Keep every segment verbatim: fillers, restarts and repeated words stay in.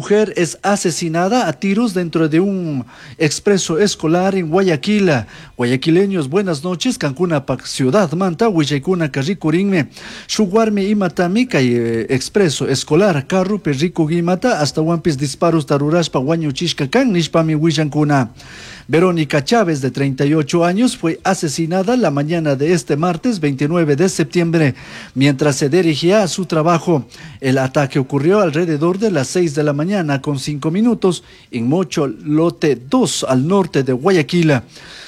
Mujer es asesinada a tiros dentro de un expreso escolar en Guayaquil. Guayaquileños, buenas noches. Kankunapak ciudad manta, willaykuna rikurinmi. Shuk warmi imatami kay eh, expreso escolar carropi rikugimata ashtahuanpish disparos rurashpa wañuchishka kan nishpami willankuna. Verónica Chávez, de treinta y ocho años, fue asesinada la mañana de este martes veintinueve de septiembre mientras se dirigía a su trabajo. El ataque ocurrió alrededor de las seis de la mañana con cinco minutos en Mocho Lote dos, al norte de Guayaquil.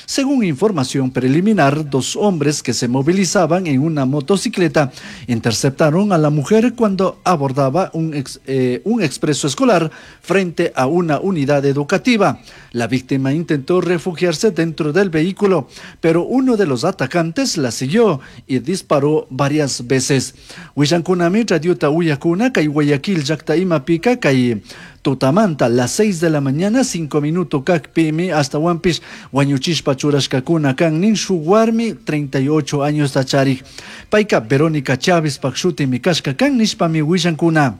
Según información preliminar, dos hombres que se movilizaban en una motocicleta interceptaron a la mujer cuando abordaba un, ex, eh, un expreso escolar frente a una unidad educativa. La víctima intentó refugiarse dentro del vehículo, pero uno de los atacantes la siguió y disparó varias veces. Willankunami radiota uyakuna kay Guayaquil llakta imapika kay tutamanta las seis de la mañana cinco minutos kakpimi ashtahuanpish wañuchishpa churashkakuna kan nin shuk warmi treinta y ocho años charik. Payka Verónica Chávez pak shutimi kashka kan nishpami willankuna.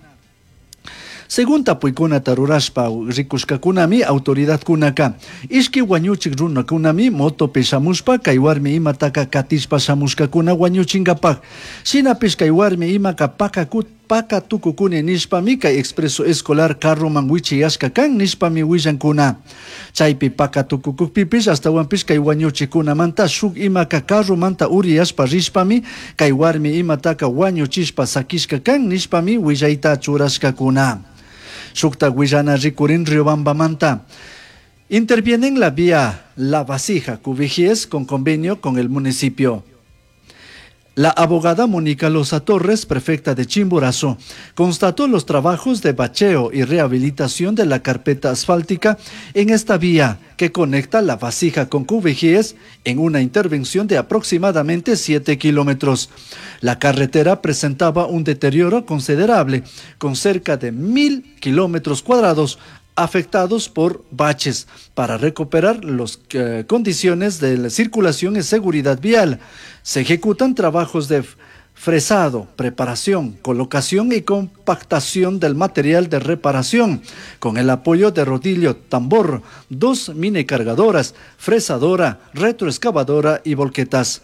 Según tapuykunata rurashpa rikushkakunami autoridadkunaka ishki wañuchik runakunami motopi shamushpa kay warmi imataka katishpa shamushkakuna wañuchinkapak. Shinapish kay warmi imaka pakakut paka tukukuni nishpami kay expreso escolar carroman wichiyashka kan nishpami willankuna. Chaypi paka tukukukpipish ashtahuanpish kay wañuchikunamanta shuk imaka carromanta uriyashpa rishpami kay warmi imataka wañuchishpa sakishka kan nishpami willayta churashkakuna. Shukta willana rikurin Riobambamanta. Intervienen la vía La Vasija, Cubijíes, con convenio con el municipio. La abogada Mónica Loza Torres, prefecta de Chimborazo, constató los trabajos de bacheo y rehabilitación de la carpeta asfáltica en esta vía que conecta La Vasija con Cubijíes en una intervención de aproximadamente siete kilómetros. La carretera presentaba un deterioro considerable, con cerca de mil kilómetros cuadrados afectados por baches. Para recuperar las eh, condiciones de la circulación y seguridad vial, se ejecutan trabajos de fresado, preparación, colocación y compactación del material de reparación, con el apoyo de rodillo tambor, dos mini cargadoras, fresadora, retroexcavadora y volquetas.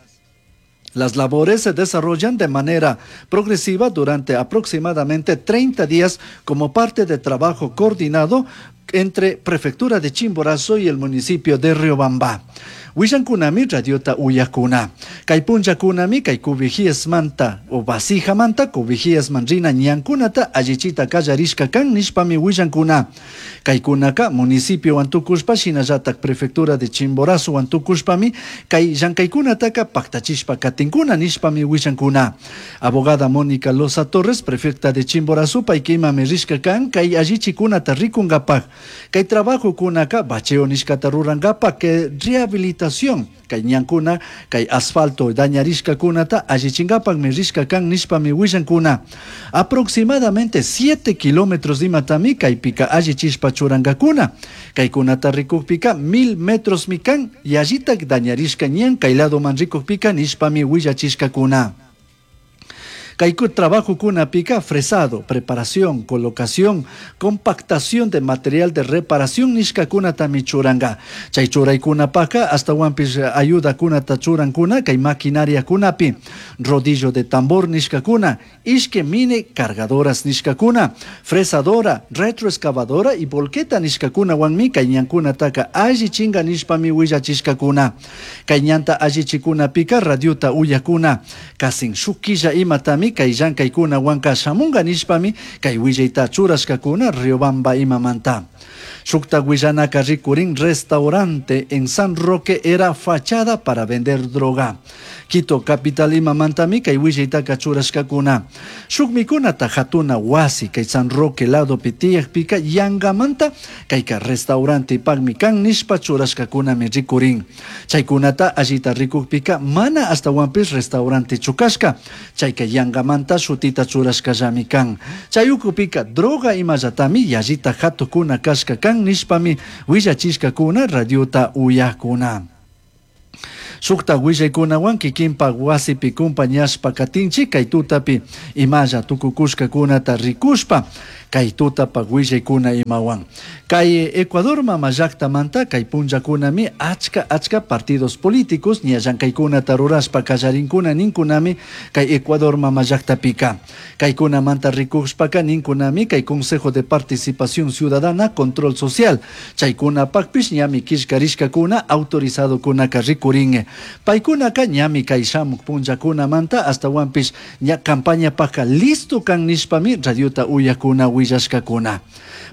Las labores se desarrollan de manera progresiva durante aproximadamente treinta días como parte de trabajo coordinado entre Prefectura de Chimborazo y el municipio de Riobamba. Willankunami radiota uyakuna. Kay punllakunami kay manta o Vasijamanta Cubijíesman rina ñankunata allichita kallarishka kan nishpami willankuna. Kaykunaka municipio tukushpa shinallatak Prefectura de Chimborazo tukushpami kay llankaykunataka paktachishpa katinkuna nishpami willankuna. Abogada Mónica Loza Torres, prefecta de Chimborazo, payka imami rishka kan kay allichikunata rikunkapak. Kay trabajo kunaka bacheo nishkata rurankapak que rehabilitación kay ñankuna kay asfalto dañarishkakunata allichinkapakmi rishka kan nishpami willankuna. Aproximadamente siete kilómetros imatami kaypika allichishpa churankakuna. Kaykunata rikukpika mil metros mi kan yallitak dañarishka ñan kay ladoman rikukpika nishpami willachishkakuna. Kayku trabajo kunapika fresado, preparación, colocación, compactación de material de reparación nishkakunatami churanka. Chay churaykunapaka ashtahuanpish ayuda kunata churankuna kay maquinaria kunapi, rodillo de tambor nishkakuna, ishki mini cargadoras nishkakuna, fresadora, retroexcavadora y volqueta nishkakunawanmi kay ñankunataka allichinga nishpami willachishkakuna. Kay ñanta allichikunapika radiota uyakuna, kasin shuk killa imatami kay llankaykunawanka shamunga nishpami kay willayta churashkakuna Riobamba imamanta. Shukta willanaka rikurin. Restaurante en San Roque era fachada para vender droga. Quito capital imamantami kay willaytaka churashkakuna. Shuk mikunata hatuna wasi kay San Roque lado tiyakpika yangamanta kayka restaurante pakmi kan nishpa churashkakunami rikurin. Chaykunata allita rikukpika mana ashtahuanpish restaurante chukashka. Chayka yangamanta shutita churashkallami kan. Chay ukupika droga imallatami yallita hatukuna kashka kan nishpami willachishkakuna radiota uyakuna. Shukta willaykunawan kikinpak wasipi kumpañashpa katinchik kay tutapi imalla tukukushkakunata rikushpa. Kay tutapak willaykuna imawan. Kay Ecuador mama llaktamanta kay punllakunami achka achka partidos políticos ña llankaykunata rurashpa kallarinkuna ninkunami kay Ecuador mama llaktapika. Kaykunamanta rikushpaka ninkunami kay Consejo de Participación Ciudadana Control Social chaykunapakpish ñami killkarishkakuna autorizadokunaka rikurin. Paykunaka ñami kay shamuk punllakunamanta astawanpish ña campañapaka listo kan nishpami radiota uyakuna willashkakuna.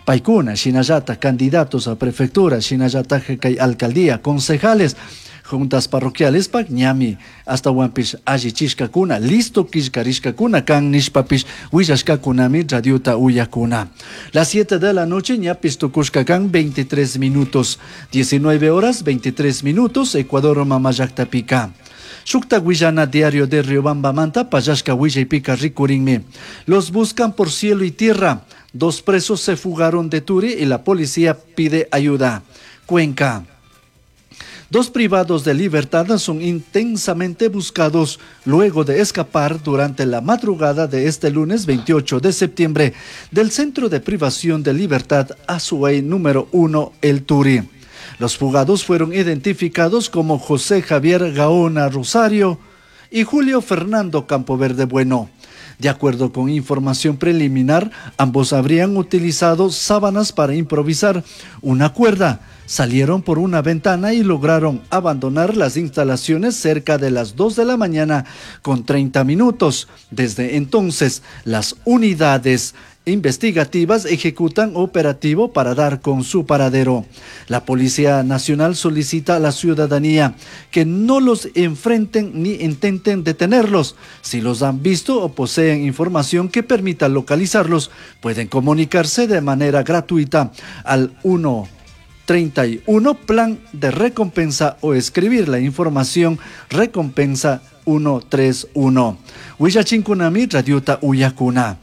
Paykuna shinallatak candidatos a prefectura shinallatak kay alcaldía, concejales, juntas parroquiales pak ñami astawanpish allichishkakuna listo killkarishkakuna kan nishpapish willashkakunami radiota uyakuna. Las siete de la noche ñapis tukushka kan veintitrés minutos, diecinueve horas veintitrés minutos, Ecuador mama llaktapika. Shukta willana diario de Riobamba manta pallashka willaypika rikurinmi. Los buscan por cielo y tierra. Dos presos se fugaron de Turi y la policía pide ayuda. Cuenca. Dos privados de libertad son intensamente buscados luego de escapar durante la madrugada de este lunes veintiocho de septiembre del Centro de Privación de Libertad Azuay número uno, El Turi. Los fugados fueron identificados como José Javier Gaona Rosario y Julio Fernando Campoverde Bueno. De acuerdo con información preliminar, ambos habrían utilizado sábanas para improvisar una cuerda. Salieron por una ventana y lograron abandonar las instalaciones cerca de las dos de la mañana con treinta minutos. Desde entonces, las unidades investigativas ejecutan operativo para dar con su paradero. La Policía Nacional solicita a la ciudadanía que no los enfrenten ni intenten detenerlos. Si los han visto o poseen información que permita localizarlos, pueden comunicarse de manera gratuita al uno treinta y uno plan de recompensa o escribir la información recompensa uno tres uno. Willachinkunami radiota uyakuna.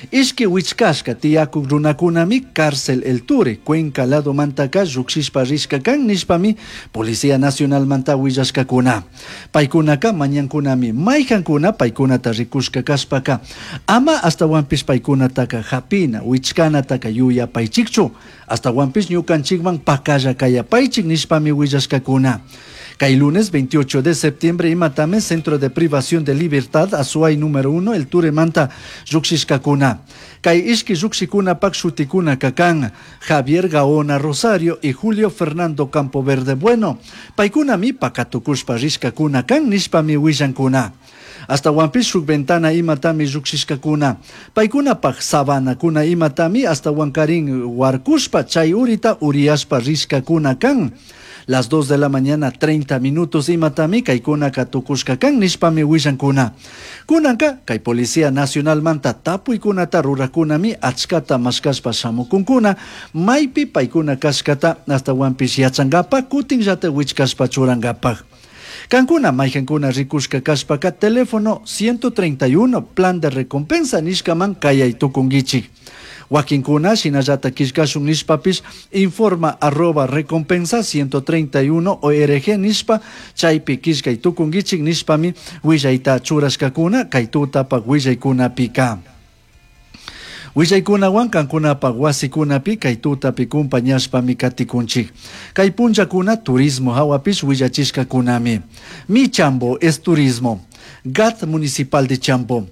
Ishki wichkashka tiyakuk runakunami cárcel El Turi, Cuenca lado mantaka llukshishpa rishka kan nishpami Policía Nacional manta willashkakuna. Paykunaka mañankunami mayhankuna paykunata rikushka kashpaka ama astawanpish paykunataka hapina wichkanataka yuyapaychikchu astawanpish ñukanchikman pakalla kayapaychik nishpami willashkakuna. Kay lunes veintiocho de septiembre imatame Centro de Privación de Libertad Azuay número uno El Turi manta llukshishkakuna. Kay ishki llukshikuna pak shutikuna kakan Javier Gaona Rosario y Julio Fernando Campoverde Bueno. Paykunami pakatukushpa rishkakuna kan nishpami willankuna. Hasta wampish shuk ventana imatami llukshishkakuna. Paykunapak sabanakuna imatami hasta wankarin warkushpa chay urita uriyashpa rishkakuna kan. Las dos de la mañana treinta minutos imatami kaykuna tukushka kan nishpami willankuna. Kunanka kay Policía Nacional manta tapuykunata rurakunami achkata mashkashpa shamukunkuna maypi paykuna kashkata hasta wampish yachankapa kutinllata wichkashpa churankapak. Kankuna mayhankuna rikushka kashpaka teléfono ciento treinta y uno plan de recompensa nishkaman kayay tukunkichik. Wakinkuna shinallata killkashun nishpapish informa arroba recompensa ciento treinta y uno org nishpa chaypi killkay tukunkichik nishpami willayta churashkakuna kay tutapak willaykunapika. Willaykunawan kankunapak wasikunapi kay tutapi kumpañashpami katikunchik. Kay punllakuna turismo hawapish willachishkakunami. Mi Chambo es turismo. G A T Municipal de Chambo.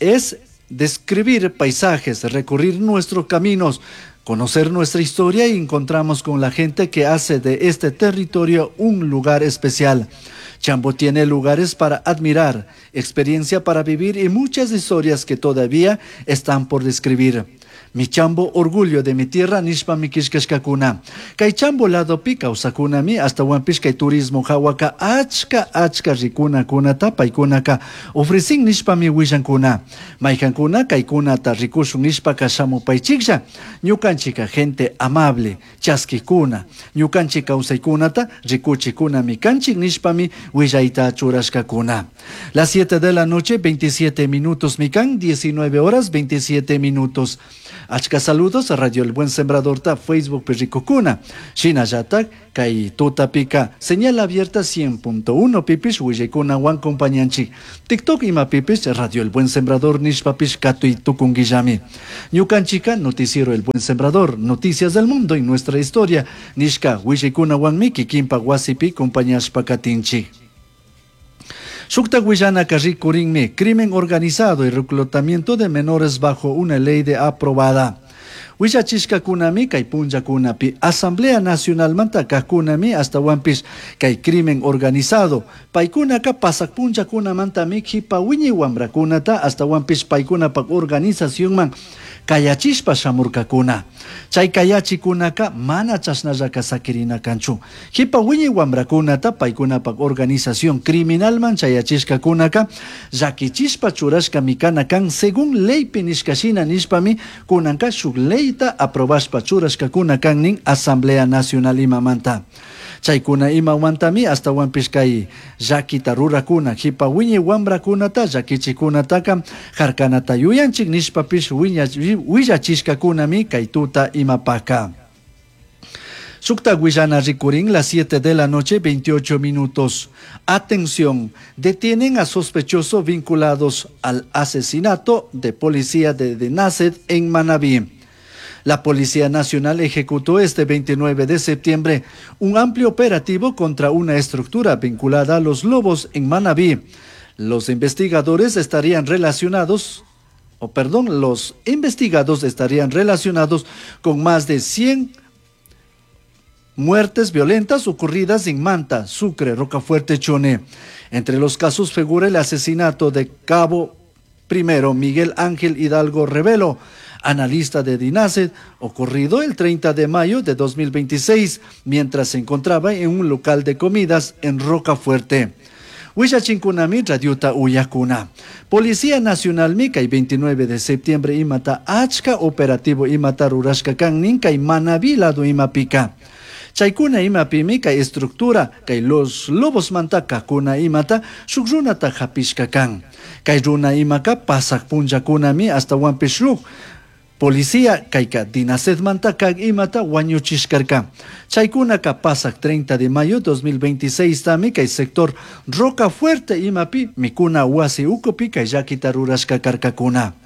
Es describir paisajes, recorrer nuestros caminos, conocer nuestra historia y encontramos con la gente que hace de este territorio un lugar especial. Chambo tiene lugares para admirar, experiencia para vivir y muchas historias que todavía están por describir. Mi Chambo, orgullo de mi tierra, nishpa mi kishkashkakuna. Kay Chambo lado pi kawsakuna mi, hasta wampish kay turismo hawaka achka achka rikuna kunata paykunaka ofrecin nishpa mi willankuna. Mayhankuna kaykunata rikushun nishpa kashamupaychiklla. Ñukanchika gente amable, chaskikuna. Ñukanchik kawsaykunata rikuchikuna mi kanchik nishpa mi willayta churashkakuna. Las siete de la noche, veintisiete minutos mi kan, diecinueve horas veintisiete minutos. Achka saludos a Radio El Buen Sembradorta Facebookpi rikukuna. Shinallatak kay tutapika señal abierta cien punto uno pipish willaykunawan compañanchik. TikTok imapipish Radio El Buen Sembrador nishpapish katuy tukunguillami. Ñukanchika Noticiero El Buen Sembrador, noticias del mundo y nuestra historia nishka willaykunawanmi kikinpak wasipi compañashpa katinchik. Shuktak willanaka rikurinmi crimen organizado y reclutamiento de menores bajo una ley de aprobada. Willachishkakunami kay punllakunapi Asamblea Nacionalmanta kajkunami astawanpish kay crimen organizado. Paykunaka pasak punllakunamantami kipa wiñay wamrakunata astawanpish paykunapak organizacionman kayachishpa shamurkakuna. Chay kayachikunaka mana chashnallaka sakirina kanchu. Kipa wiñay wamrakunata paykunapak organización criminalman chayachishkakunaka llakichishpa churashka mikana kan según leypi nishkashina nishpami kunanka shuk leyta aprobashpa churashkakuna kan nin Asamblea Nacional imamanta. Chaykuna imawantami astawanpish kay llakita rurakuna kipa wiñay wamrakunata llakichikunataka harkanata yuyanchik nishpapish willachishkakunami kay tuta imapaka. Shukta willana rikurin las siete de la noche, veintiocho minutos. Atención, detienen a sospechosos vinculados al asesinato de policía de Dinased en Manabí. La Policía Nacional ejecutó este veintinueve de septiembre un amplio operativo contra una estructura vinculada a los lobos en Manabí. Los investigadores estarían relacionados, o perdón, los investigados estarían relacionados con más de cien muertes violentas ocurridas en Manta, Sucre, Rocafuerte, Chone. Entre los casos figura el asesinato de Cabo Primero Miguel Ángel Hidalgo Revelo, analista de Dinased, ocurrido el treinta de mayo de dos mil veintiséis, mientras se encontraba en un local de comidas en Rocafuerte. Huillachinkunami radiota uyakuna. Policía Nacional mica y veintinueve de septiembre imata achka operativo imata rurashka kan ninka y Manabí lado imapika. Chaykuna imapimi kay estructura kay los lobos mantaka kuna imata shuk runata hapishka kan. Kay runa imaka pasak punllakunami hasta wanpish shuk policía kayka Dinased mantaka imata wañuchishkarka. Chaykunaka pasak treinta de mayo dos mil veintiséis tami kay sector Roca Fuerte imapi mikuna wasi ukupi kay llakita rurashka karkakuna.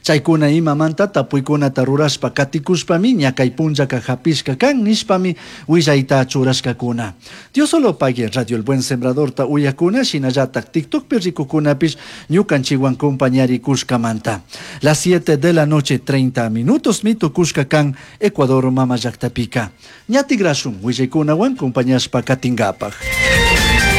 Chaykuna imamanta tapuykunata rurashpa katikushpami ñakay punllaka hapishka kan nishpami willayta churashkakuna. Dios solo pague Radio El Buen Sembradorta uyakuna shinallatak TikTokpi rikukunapish ñukanchikwan compañarikushkamanta. Las siete de la noche treinta minutos mitukushka kan Ecuador mama llaktapika. Ñatigrashun willaykunawan compañashpa katinkapak.